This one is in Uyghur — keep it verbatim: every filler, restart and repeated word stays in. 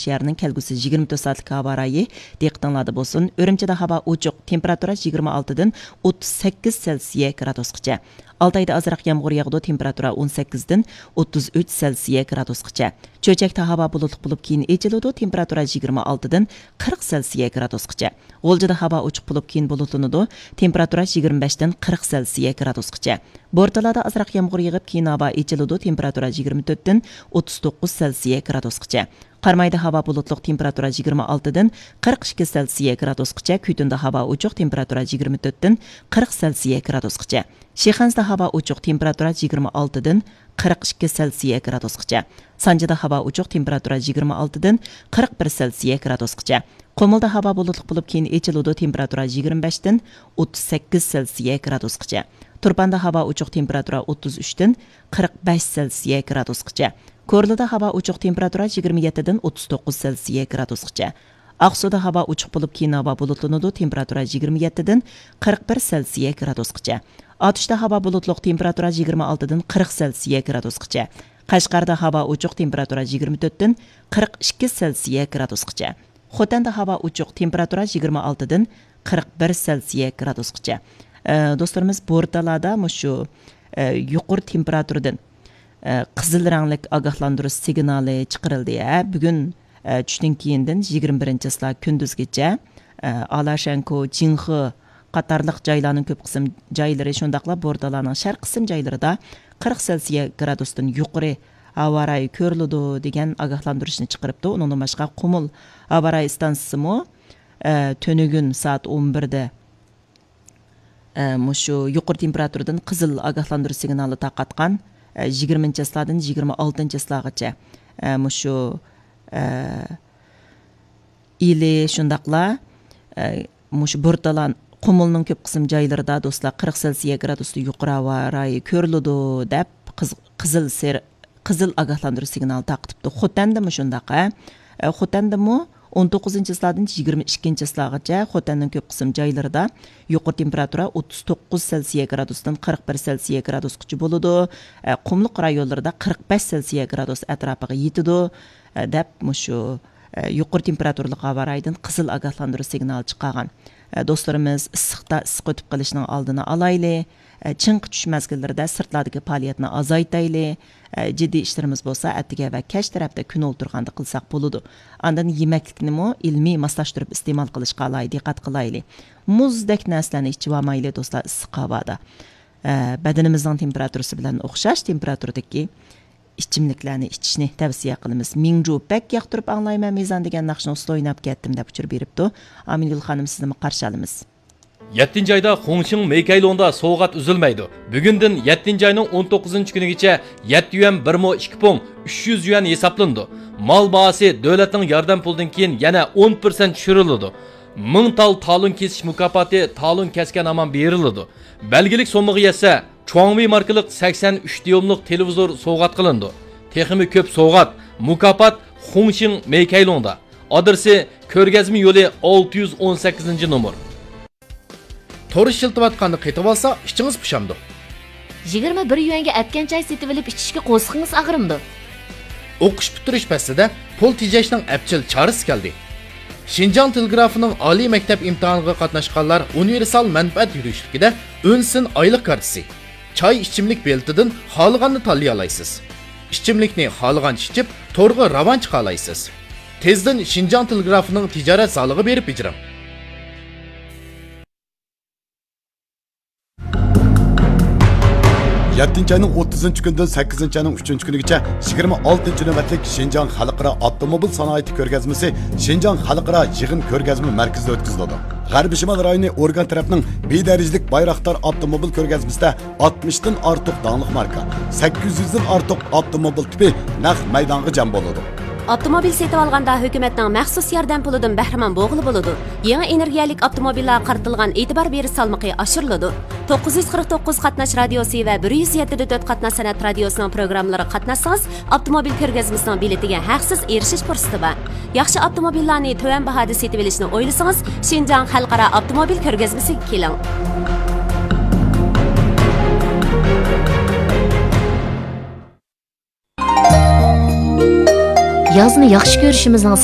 شەھەرنىڭ كەلگۈسى يىگىرمە تۆت سائەتلىك ھاۋا رايى دىققىتىڭلاردا بولسۇن. ئۈرۈمچىدە ھاۋا ئوچۇق، تېمپېراتۇرا يىگىرمە ئالتىدىن ئوتتۇز سەككىز سېلسىيە گرادۇسقىچە. ئالتايدا ئازراق يامغۇر ياغىدۇ، تېمپېراتۇرا ئون سەككىزدىن ئوتتۇز ئۈچ سېلسىيە گرادۇسقىچە. چۆچەكتە ھاۋا بۇلۇتلۇق بولۇپ، كېيىن ئېچىلىدۇ، تېمپېراتۇرا يىگىرمە ئالتىدىن قىرىق سېلسىيە گرادۇسقىچە. غۇلجىدا ھاۋا ئوچۇق بولۇپ، كېيىن بۇلۇتلىنىدۇ، تېمپېراتۇرا يىگىرمە بەشتىن قىرىق سېلسىيە گرادۇسقىچە. بورتالادا ئازراق يامغۇر يېغىپ، كېيىن ھاۋا ئېچىلىدۇ، تېمپېراتۇرا يىگىرمە تۆتتىن ئوتتۇز توققۇز سېلسىيە گرادۇسقىچە. قارامايدا ھاۋا بۇلۇتلۇق، تېمپېراتۇرا يىگىرمە ئالتىدىن قىرىق ئىككى سېلسىيە گرادۇسقىچە، كۈتۈندە ھاۋا ئوچۇق، تېمپېراتۇرا يىگىرمە تۆتتىن قىرىق سېلسىيە گرادۇسقىچە. شىخەنزىدە ھاۋا ئوچۇق، تېمپېراتۇرا يىگىرمە ئالتىدىن قىرىق ئىككى سېلسىيە گرادۇسقىچە. سانجىدا ھاۋا ئوچۇق، تېمپېراتۇرا يىگىرمە ئالتىدىن قىرىق بىر سېلسىيە گرادۇسقىچە. قۇمۇلدا ھاۋا بۇلۇتلۇق بولۇپ، كېيىن ئېچىلىدۇ، تېمپېراتۇرا يىگىرمە بەشتىن ئوتتۇز سەككىز سېلسىيە گرادۇسقىچە. تۇرپاندا ھاۋا ئوچۇق، تېمپېراتۇرا ئوتتۇز ئۈچتىن قىرىق بەش سېلسىيە گرادۇسقىچە. كورلىدا ھاۋا ئوچۇق، تېمپېراتۇرا يىگىرمە يەتتىدىن ئوتتۇز توققۇز سېلسىيە گرادۇسقىچە. ئاقسۇدا ھاۋا ئوچۇق بولۇپ، كېيىن ھاۋا بۇلۇتلىنىدۇ، تېمپېراتۇرا يىگىرمە يەتتىدىن قىرىق بىر سېلسىيە گرادۇسقىچە. ئاتۇشتا ھاۋا بۇلۇتلۇق، تېمپېراتۇرا يىگىرمە ئالتىدىن قىرىق سېلسىيە گرادۇسقىچە. قەشقەردە ھاۋا ئوچۇق، تېمپېراتۇرا يىگىرمە تۆتتىن قىرىق ئىككى سېلسىيە گرادۇسقىچە. خوتەندە ھاۋا ئوچۇق، تېمپېراتۇرا يىگىرمە ئالتىدىن قىرىق بىر سېلسىيە گرادۇسقىچە. ئە، دوستلىرىمىز، بورتالادا مۇشۇ، ئە، يۇقىرى تېمپېراتۇرىدىن، ئە، قىزىل رەڭلىك ئاگاھلاندۇرۇش سىگنالى چىقىرىلدى. ھە، بۈگۈن، ئە، چۈشتىن كېيىندىن يىگىرمە بىرىنچى چىسلا كۈندۈزگىچە، ئە، ئالاشەنكو، جىڭخې قاتارلىق جايلارنىڭ كۆپ قىسىم جايلىرى، شۇنداقلا بورتالانىڭ شەرقىي قىسىم جايلىرىدا قىرىق سېلسىيە گرادۇستىن يۇقىرى ھاۋا رايى كۆرۈلىدۇ، دېگەن ئاگاھلاندۇرۇشنى چىقىرىپتۇ. ئۇنىڭدىن باشقا، قۇمۇل ھاۋا رايى ئىستانسىسىمۇ، ئە، تۈنۈگۈن سائەت ئون بىردە، ئە، مۇشۇ يۇقىرى تېمپېراتۇرىدىن قىزىل ئاگاھلاندۇرۇش سىگنالى تارقاتقان، ئە، يىگىرمىنچى چىسلادىن يىگىرمە ئالتىنچى چىسلاغىچە، ئە، مۇشۇ، ئە، ئىلى شۇنداقلا، ئە، مۇشۇ بورتالان، قۇمۇلنىڭ كۆپ قىسىم جايلىرىدا، دوستلار، قىرىق سېلسىيە گرادۇستىن يۇقىرى ھاۋا رايى كۆرۈلىدۇ، دەپ قىز-، قىزىل سېرىق قىزىل ئاگاھلاندۇرۇش سىگنالى تارقىتىپتۇ. خوتەندىمۇ شۇنداق، ھە. ئە، خوتەندىمۇ ئون توققۇزىنچى چىسلادىن يىگىرمە ئىككىنچى چىسلاغىچە خوتەننىڭ كۆپ قىسىم جايلىرىدا يۇقىرى تېمپېراتۇرا ئوتتۇز توققۇز سېلسىيە گرادۇستىن قىرىق بىر سېلسىيە گرادۇسقىچە بولىدۇ. ئە، قۇملۇق رايونلىرىدا قىرىق بەش سېلسىيە گرادۇس ئەتراپىغا يېتىدۇ، ئە، دەپ مۇشۇ، ئە، يۇقىرى تېمپېراتۇرىلىق ھاۋا رايىدىن قىزىل ئاگاھلاندۇرۇش سىگنالى چىقارغان. ئە، دوستلىرىمىز، ئىسسىقتا ئىسسىق ئۆتۈپ قېلىشنىڭ ئالدىنى ئالايلى. ئە، چىڭ قىچىش مەزگىللىرىدە سىرتلاردىكى پائالىيەتنى ئازايتايلى. ئە، جىددىي ئىشلىرىمىز بولسا ئەتىگە ۋە كەچ تەرەپتە كۈن ئولتۇرغاندا قىلساق بولىدۇ. ئاندىن يېمەكلىكنىمۇ ئىلمىي ماسلاشتۇرۇپ ئىستېمال قىلىشقا ئالاھىدە دىققەت قىلايلى. مۇزدەك نەرسىلەرنى ئىچىۋالمايلى، دوستلار، ئىسسىق ھاۋادا. ئە، بەدىنىمىزنىڭ تېمپېراتۇرىسى بىلەن ئوخشاش تېمپېراتۇرىدىكى ئىچىملىكلەرنى ئىچىشنى تەۋسىيە قىلىمىز. مىڭجۇ، بەك ياقتۇرۇپ ئاڭلايمەن مىزان دېگەن ناخشىنى ئۇسسۇل ئويناپ كەتتىم، دەپ ئۇچۇر بېرىپتۇ. ئامىنگۈل خانىم، سىزنىمۇ قارشى ئالىمىز. يەتتىنچى ئايدا خۇڭشىڭ مېيكەيلۇڭدا سوۋغات ئۈزۈلمەيدۇ. بۈگۈندىن يەتتىنچى ئاينىڭ ئون توققۇزىنچى كۈنىگىچە يەتتە يۈەن بىر مو ئىككى پۇڭ ئۈچ يۈز يۈەن ھېسابلىنىدۇ. مال باھاسى دۆلەتنىڭ ياردەم پۇلىدىن كېيىن يەنە ئون پىرسەنت چۈشۈرۈلىدۇ. مىڭ تال تالون كېسىش مۇكاپاتى تالون كەسكەن ھامان بېرىلىدۇ. بەلگىلىك سوممىغا يەتسە، چۇاڭۋېي ماركىلىق سەكسەن ئۈچ دىيوملۇق تېلېۋىزور سوۋغات قىلىنىدۇ. تېخىمۇ كۆپ سوۋغات، مۇكاپات خۇڭشىڭ مېيكەيلۇڭدا. ئادرېسى: كۆرگەزمە يولى، ئالتە يۈز ئون سەككىزىنچى نومۇر. تور ئىشلىتىۋاتقاندا قېتىۋالسا، ئىچىڭىز پۇشامدۇ. يىگىرمە بىر يۈەنگە ئەتكەن چاي سېتىۋېلىپ ئىچىشكە قورسىقىڭىز ئاغرىمدۇ؟ ئوقۇش پۈتتۈرۈش پەسلىدە پۇل تېجەشنىڭ ئەپچىل چارىسى كەلدى. شىنجاڭ تېلېگرافىنىڭ ئالىي مەكتەپ ئىمتىھانىغا قاتناشقانلار ئۇنىۋېرسال مەنپەئەت يۈرۈشلۈكىدە ئۈنسىن ئايلىق كارتىسى، چاي ئىچىملىك بېلىتىدىن خالىغاننى تاللىيالايسىز. ئىچىملىكنى خالىغانچە ئىچىپ، تورغا راۋان چىقالايسىز. تېزدىن شىنجاڭ تېلېگرافىنىڭ تىجارەت زالىغا بېرىپ بېجىرىڭ. يەتتىنچى ئاينىڭ ئوتتۇزىنچى كۈنىدىن سەككىزىنچى ئاينىڭ ئۈچىنچى كۈنىگىچە يىگىرمە ئالتىنچى نۆۋەتلىك شىنجاڭ خەلقئارا ئاپتوموبىل سانائىتى كۆرگەزمىسى شىنجاڭ خەلقئارا يىغىن كۆرگەزمە مەركىزىدە ئۆتكۈزۈلىدۇ. غەربىي شىمال رايونى ئورگان تەرەپنىڭ بىر دەرىجىلىك بايراقدار ئاپتوموبىل كۆرگەزمىسىدە ئاتمىشتىن ئارتۇق داڭلىق ماركا، سەككىز يۈزدىن ئارتۇق ئاپتوموبىل تىپى نەق مەيدانغا جەم بولىدۇ. ئاپتوموبىل سېتىۋالغاندا ھۆكۈمەتنىڭ مەخسۇس ياردەم پۇلىدىن بەھرىمەن بولغىلى بولىدۇ. يېڭى ئېنېرگىيەلىك ئاپتوموبىللارغا قارىتىلغان ئېتىبار بېرىش سالمىقى ئاشۇرۇلىدۇ. توققۇز يۈز قىرىق توققۇز قاتناش رادىيوسى ۋە بىر يۈز يەتتە دە تۆت قاتناش سەنئەت رادىيوسىنىڭ پروگراممىلىرىغا قاتناشسىڭىز، ئاپتوموبىل كۆرگەزمىسىنىڭ بېلىتىگە ھەقسىز ئېرىشىش پۇرسىتى بار. ياخشى ئاپتوموبىللارنى تۆۋەن باھادا سېتىۋېلىشنى ئويلىسىڭىز، شىنجاڭ خەلقئارا ئاپتوموبىل كۆرگەزمىسىگە كېلىڭ. يازنى ياخشى كۆرۈشىمىزنىڭ